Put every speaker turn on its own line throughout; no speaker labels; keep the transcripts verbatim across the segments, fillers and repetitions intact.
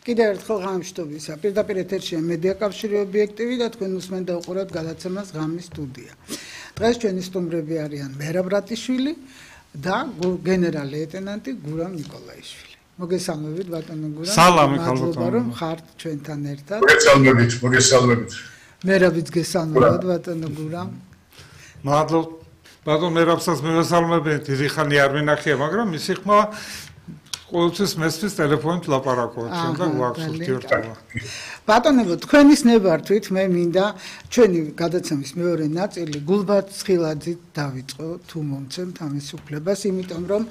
კიდევ ერთხელ გამშვიდობისა. Პირდაპირ ეთერშია მედია კავშირი ობიექტივი და თქვენ უსმენთ და უყურებთ გადაცემას ღამის სტუდია. დღეს ჩვენი სტუმრები არიან მერაბ რატიშვილი და გენერალ-ლეიტენანტი გურამ ნიკოლაიშვილი. მოგესალმებით ბატონო გურამ.
სალამი ხალხო.
მადლობა რომ ხართ ჩვენთან ერთად.
მოგესალმებით, მოგესალმებით.
მერაბიც გესალმებით ბატონო გურამ.
მადლობა. ბატონო მერაბსაც მოგესალმებით. დიდი ხანი არ მინახია, მაგრამ ისი ხმა ყოველთვის მესმის ტელეფონით ლაპარაკობთ და გვაქვს ურთიერთობა.
ბატონებო, თქვენის ნებართვით მე მინდა ჩვენი გადაცემის მეორე ნაწილი გულბაათ ცხილაძით დავიწყო, თუ მომცემთ ამის უფლებას, იმიტომ რომ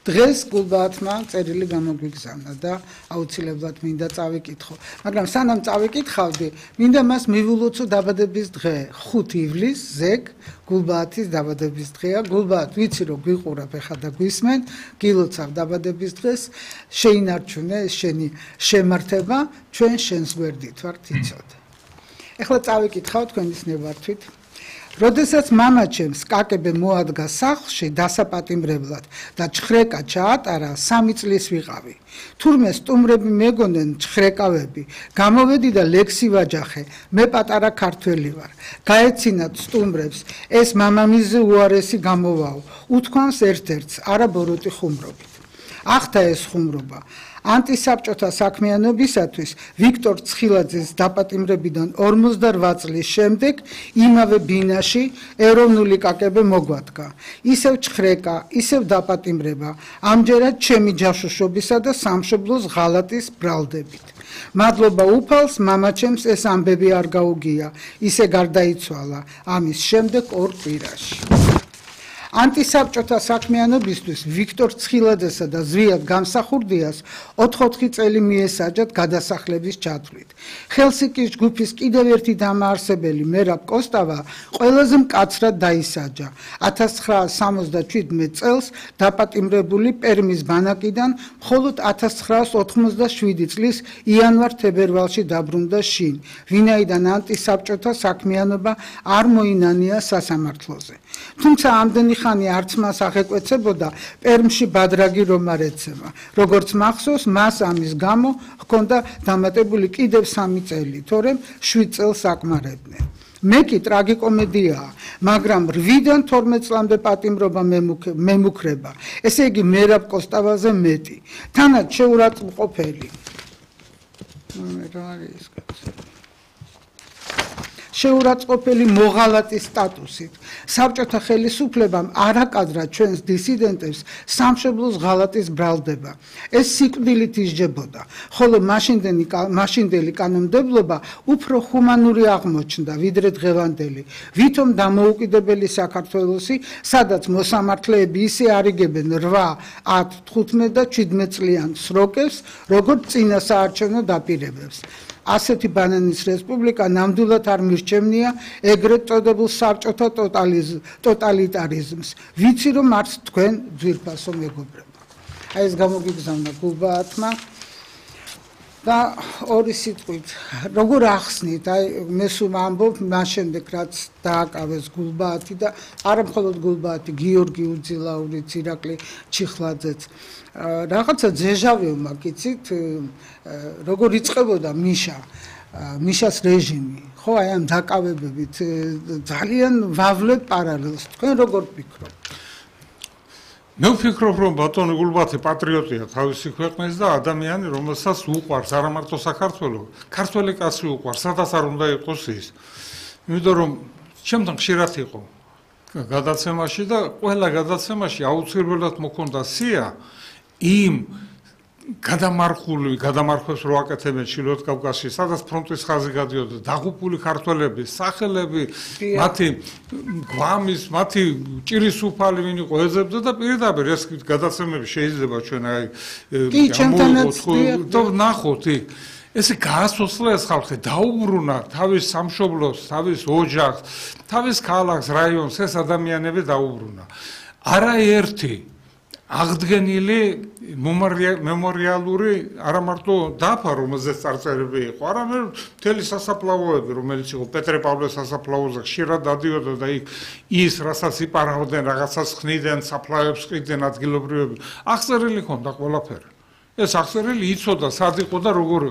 დღეს გულბაათმა წერილი გამოგვიგზავნა და აუცილებლად მინდა წავიკითხო. მაგრამ სანამ წავიკითხავდი, მინდა მას მივულოცო დაბადების დღე, ხუთი ივლისს, ზეგ გულბაათის დაბადების დღეა. გულბაათ, ვიცი რომ გვიყურებ ეხლა და გვისმენ, გილოცავ დაბადების დღეს, შეინარჩუნე შენი შემართება, ჩვენ შენს გვერდით ვართ იცოდე. ეხლა წავიკითხავ თქვენის ნებართვით. როდესაც მამაჩემს კაკებე მოადგა სახლში დასაპატიმრებლად და ჩხრეკა ჩაატარა, სამი წლის ვიყავი. თურმე სტუმრები მეგონენ ჩხრეკავები, გამოვედი და ლექსი ვაჯახე, მე პატარა ქართველი ვარ. გაეცინათ სტუმრებს, ეს მამამისზე უარესი გამოვაო, უთქვამს ერთ-ერთს, არა ბოროტი ხუმრობით. ახთა ეს ხუმრობა. ანტისაბჭოთა საქმიანობისათვის ვიქტორ ცხილაძის დაპატიმრებიდან ორმოცდარვა წლის შემდეგ იმავე ბინაში ეროვნული კაკებე მოგვადგა. ისევ ჩხრეკა, ისევ დაპატიმრება, ამჯერად ჩემი ჯაშუშობისა და სამშობლოს ღალატის ბრალდებით. მადლობა უფალს, მამაჩემს ეს ამბები არ გაუგია, ისე გარდაიცვალა ამის შემდეგ ორ კვირაში. ანტისაბჭოთა საქმიანობისთვის ვიქტორ ცხილაძესა და ზვიად გამსახურდიას ოთხ-ოთხი წელი მიესაჯათ გადასახლების ჩათვლით. ხელსინკის ჯგუფის კიდევ ერთი დამაარსებელი მერაბ კოსტავა ყველაზე მკაცრად დაისაჯა. ათას ცხრაას სამოცდაშვიდმეტ წელს დაპატიმრებული პერმის ბანაკიდან მხოლოდ ათას ცხრაას ოთხმოცდაშვიდი წლის იანვარ-თებერვალში დაბრუნდა შინ, ვინაიდან ანტისაბჭოთა საქმიანობა არ მოინანია სასამართლოზე. თუმცა ამდენი ხანი არც მას აღეკვეცებოდა პერმში ბადრაგი რომ არ ეცემა. როგორც მახსოვს, მას ამის გამო ჰქონდა დამატებული კიდევ სამი წელი, თორემ შვიდ წელს აკმარებდნენ. მე კი ტრაგიკომედიაა, მაგრამ რვიდან თორმეტ წლამდე პატიმრობა მემუქრება, ესე იგი მერაბ კოსტავაზე მეტი. თანაც შეურაცხმყოფელი. რა არის ეს კაცი? შეურაცხმყოფელი მოღალატის სტატუსით. საბჭოთა ხელისუფლებამ არ აკადრა ჩვენს დისიდენტებს სამშობლოს ღალატის ბრალდება. ეს სიკვდილით ისჯებოდა, ხოლო მაშინდელი კანონმდებლობა უფრო ჰუმანური აღმოჩნდა, ვიდრე დღევანდელი. ვითომ დამოუკიდებელი საქართველოსი, სადაც მოსამართლეები ისე არიგებენ რვა, ათ, თხუთმეტ და შვიდმეტ წლიან სროკებს, როგორც წინა საარჩევნო დაპირებებს. ასეთი ბანანის რესპუბლიკა ნამდვილად არ მირჩევნია ეგრეთ წოდებულ საბჭოთა ტოტალიტარიზმს. ვიცი რომ არც თქვენ ძვირფასო მეგობრებო. აი ეს გამოგიგზავნა გულბაათმა და ორი სიტყვით როგორ ახსნით, აი მე სულ ამბობ მას შემდეგ რაც დააკავეს გულბაათი და არა მხოლოდ გულბაათი, გიორგი უძილაურიც, ირაკლი ჩიხლაძეც. რაღაცა ძეჟავიო მაგიცით, როგორ იწყებოდა მიშა, მიშას რეჟიმი, ხო, აი ამ დაკავებებით ძალიან ვავლებ პარალელს. თქვენ როგორ ფიქრობთ?
მე ვფიქრობ, რომ ბატონი გულბაათი პატრიოტია თავისი ქვეყნის და ადამიანი, რომელსაც უყვარს არა მარტო საქართველო, ქართველი კაცი უყვარს, სადაც არ უნდა იყოს ის. იმიტომ რომ ჩემთან ხშირად იყო გადაცემაში და ყველა გადაცემაში აუცილებლად მოქონდა სია იმ გადამარხული გადამარხვებს რო აკეთებენ ჩილოთ კავკასიაში, სადაც ფრონტის ხაზი გადიოდა, დაღუპული ქართველები, სახელები, მათი გვამის, მათი ჭირის უფალი ვინ იყო ეძებდა და პირდაპირ ეს გადაცემები შეიძლება ჩვენ აი და ნახოთ იქ. ესე გაასოცლა ეს ხალხი, დაუბრუნა თავის სამშობლოს, თავის ოჯახს, თავის ქალაქს, რაიონს, ეს ადამიანები დაუბრუნა. არაერთი აღდგენილი მემორიალური არა მარტო დაფა, რომელზეც წარწერები იყო, არამედ მთელი სასაფლაოები, რომელიც იყო პეტრე-პავლეს სასაფლაოზე ხშირად დადიოდა და იქ ის, რასაც იპარავდნენ, რაღაცას ხნიდნენ, საფლავებს ყიდნენ ადგილობრივები, აღწერილი ჰქონდა ყველაფერი. ეს აღწერილი იცოდა, სად იყო და როგორ